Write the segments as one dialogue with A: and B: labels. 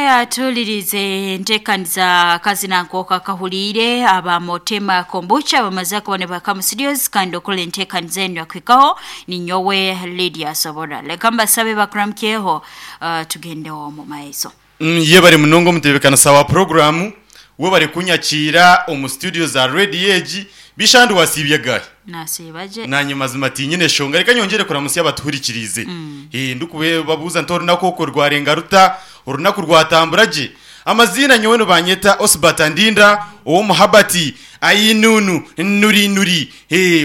A: Atuhulirize enteekaniza kazina nk'oku akahuliire aba Motema Kombucha bamaze kuba nibahika mu studios kandi okora enteekaniza enu yakuhikaho ninyowe Lydia Sobora. Leka mbasabe bakuramukyeho tugendeho omu maiso.
B: Yebare munonga omutebekanisa wa puroguramu, webare kunyakiira omu studio za rediyo egi. Bishandi wasiibye gaahi?
A: Nasiiba gye.
B: Naanye mazima tinyine shonga. Reka nyongyere kuramutsya abatuhurikiriize. Ndikubabuuza nti orunaku okwo rwarenga ruta? Orunaku rwatambura gye? Amaziina nyowe nibanyeta Osbert Ndinda ow'omu Habati Ainunu Nuri Nuri.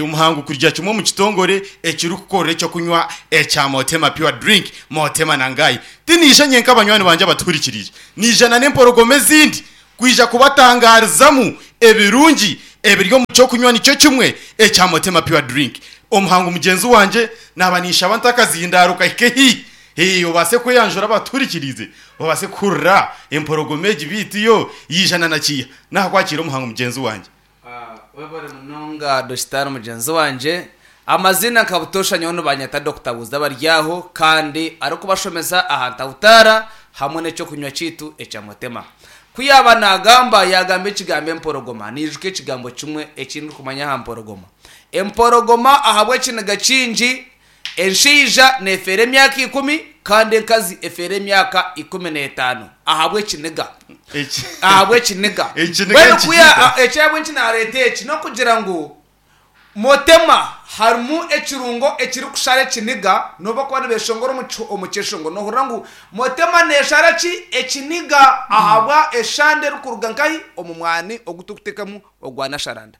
B: Omuhangu kurya kimwe omu kitongore ekirikukorera eky'okunywa ekya Motema Pure Drink, Motema na Ngai. Tiniija nyenka banywani bangye abatuhurikiriire, niija na n'emporogoma ezindi kwija kubatangaarizamu ebirungi ebiri omu ky'okunywa nikyo kimwe ekya Motema Pure Drink. Omuhangu mugyenzi wangye naaba ninshaba nti akazindaaro kahike haihi, hee, obaase kweyanjura abatuhurikiriize babaase kuhurira emporogoma egi beitu yo yaija na nakiiha. Naakwakiira omuhangu mugyenzi wangye.
C: Webare munonga Dositari mugyenzi wangye. Amaziina nka butoosha nyowe nibanyeta Dokita Buuza Baryaho kandi arikubashomesa aha ntahutaara hamwe n'ekyokunywa kyaitu ekya Motema. Ku yaaba naagamba, yaagamba ekigambo emporogoma, naijuka ekigambo kimwe eki ndikumanya aha mporogoma. Emporogoma ahabw'ekiniga kingi, enshaija neefeera emyaka ikumi kandi enkazi efeera emyaka 15 ahabw'ekiniga. Ahabw'ekiniga.
B: Ekiniga
C: Mbwenu ku ya-
B: nikikiita.
C: eki ahabw'enki naareeta eki n'okugira ngu Motema harimu ekirungo ekirikushara ekiniga, n'obu barikuba nibeshongora omu kyeshongo nohurira ngu Motema neshara ki? Ekiniga ahabwa eshande erikuruga nkahi? Omu mwani ogu turikutekamu ogwa Nasharanda.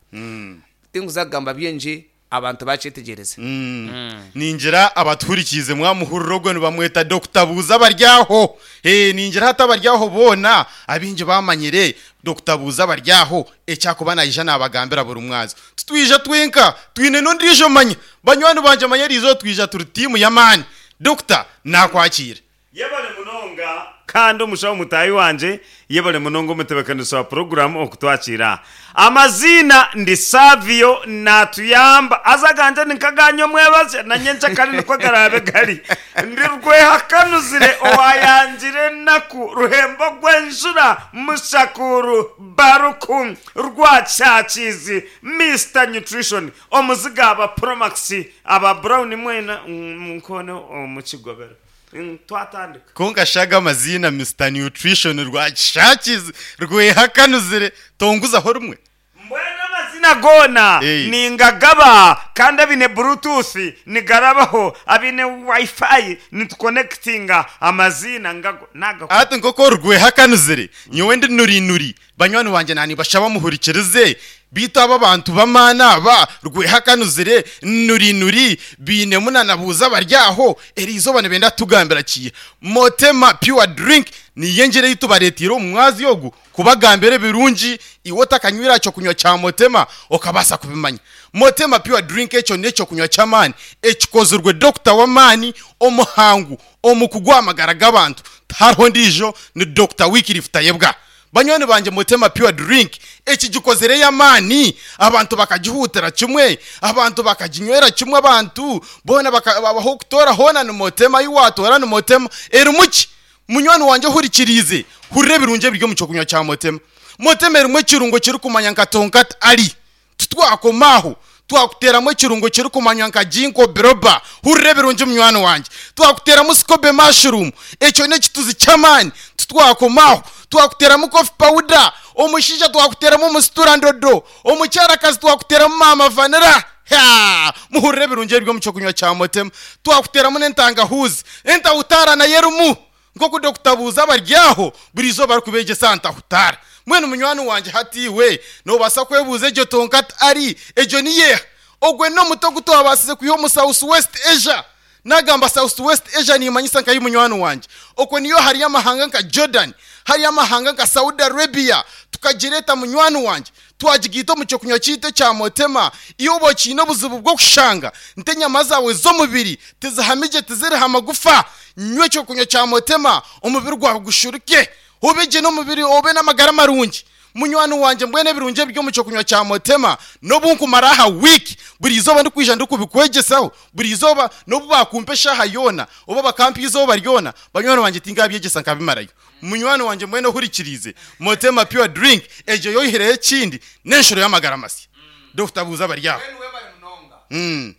C: Tinkuza kugamba bingi abantu bakyetegyereze.
B: Ningira abatuhurikiize mwamuhurira ogwo nibamweta Dokita Buuza Baryaho. Ningira hati abaryaho boona abaingi bamanyire Dokita Buuza Baryaho eki akuba naija naabagambira buri mwazo. Titwija twenka, twine n'ondiijo manya. Banywani bangye manya eriizooba twija turi tiimu y'amaani. Dokita naakwakiira.
D: Yebare munonga kandi omushaho mutaahi wangye, yebare munonga omutebekanisa wa puroguramu okutwakiira. Amaziina ndi Savio natuyamba haza agangye ni nk'aganyu omwebazyo na nyenkyakare nikwo garaabe gari. Ndi Rwehakanuzire owayangire enaku, Ruhembo gw'enjura, Mushakuru, Baruku, Rwakyakiizi, Mister Nutrition, omuziga aba Promax, aba Brown mwena munkoone omu kigobero. Twatandika.
B: Kwonka shi aga amaziina Mister Nutrition Rwakishakizi, Rwehakanuzire, tonguzaho rimwe?
D: Mbwenu amazina goona ningagaba kandi abaine bluetooth nigarabaho, abaine wifi nitukonekitinga amaziina ngago nagakora.
B: Hati nk'oku ori Rwehakanuzire, nyowe ndi Nurinuri, banywani bangye naanibashaba muhurikirize, beitu aba abantu b'amaani aba, Rwehakanuzire, Nurinuri, bainemu na Nabuuza bari aho, eriizooba nibenda kutugambira ki? Motema Pure Drink niyo engyera ei tubareeteire omu mwazyo ogu Kubagambira ebirungi iwe otakanywire aha ky'okunywa kya Motema okabaasa kubimanya. Motema Pure Drink ekyo n'eky'okunywa ky'amaani ekikozirwe dokita w'amaani omuhangu omu kugwa amagara g'abantu. Tihariho ondiijo ni Dokita Wycliffe Tayebwa. Banywani bangye Motema Pure Drink ekigikozire ey'amaani abantu bakagihuutira kimwe, abantu bakaginywera kimwe abantu boona ahu okutoora hoona ni Motema ahu waatoora ni Motema. Erimu ki? Munywani wangye ohurikiriize, hurira ebirungi ebiri omu ky'okunywa kya Motema. Motema erimu ekirungo kirikumanywa nka Tonkat Ali. Titwakoma aho, twakuteeramu ekirungo kirikumanywa nka Ginkgo biloba. Hurira ebirungi munywani wangye. Twakuteeramu Scobe mushroom. Ekyo n'ekituzi ky'amaani. Titwakoma aho, twakuteeramu coffee powder. Omushaija twakuteeramu omusitura ndodo. Omukyarakazi twakuteeramu maama vanilla. Haa! Muhurire ebirungi ebiri omu ky'okunywa kya Motema. Twakuteramu n'entangahuuzi. Entahutaara nayo erimu. Nk'oku Dokita Buuza abari aho buri izooba arikubeegyesa aha ntahutaara. Mbwenu munywani wangye hati iwe noobaasa kwebuuza egyo tonkat ari egyo niyo eha? Ogwe n'omuti ogu twabaasize kwiha omu South West Asia. Naagamba South West Asia niimanyisa nkahi munywani wangye? Okwo niyo hariyo amahanga nka Jordan, hariyo amahanga nka Saudi Arabia. Tukagireeta munywani wangye. Twagigaita omu ky'okunywa kyaitu ekya Motema. Iwe oba okiine obuzibu bw'okushanga nti enyama zaawe z'omubiri tizihami gye tiziriho amagufa, nywa eky'okunywa kya Motema omubiri gwawe gushurike, obe gye n'omubiri obe n'amagara marungi. Munywani wangye mbwenu ebirungi ebiri omu kyokunywa kya Motema n'obu nkumara aha wiiki buri izooba ndikwija ndikubikwegyesaho buri izooba n'obu baakumpa eshaaha yoona oba bakampa eizooba ryona banywani bangye tinkabyegyesa nkabimarayo. Munywani wangye mbwenu ohurikiriize Motema Pure Drink egyo yoihireho ekindi n'enshuro y'amagara masya. Dokita buuza abari aho.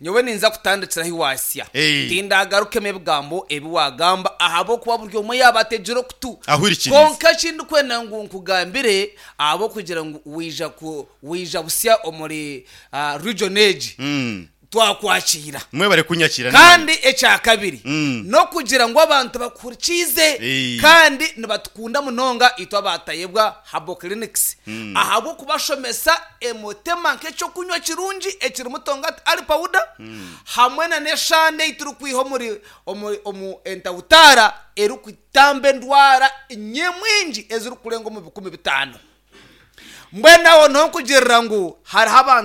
C: Nyowe ninza kutandikira ahi waasya. Tindagarukemu ebigambo ebi waagamba ahabw'okuba buri omwe yaaba ategire okutu.
B: Ahurikirize.
C: Kwonka eki ndikwenda ngu nkugambire ahabw'okugira ngu waija ku waija busya omuri region egi, twakwakiira.
B: Mwebare kunyakiira n'amaani.
C: Kandi ekya kabiri, n'okugira ngu abantu bakuhurikiize kandi nibatukunda munonga itwe aba Tayebwa Herbal Clinics ahabw'okubashomesa emotema nk'eky'okunywa kirungi ekirimu tongati ali powder hamwe na n'eshande ei turikwiha omuri omuri omu entawutaara erikutamba endwara nyamwingi ezirikurenga omu 5000. Mbwenu aho niho nkugirira ngu hariho abantu.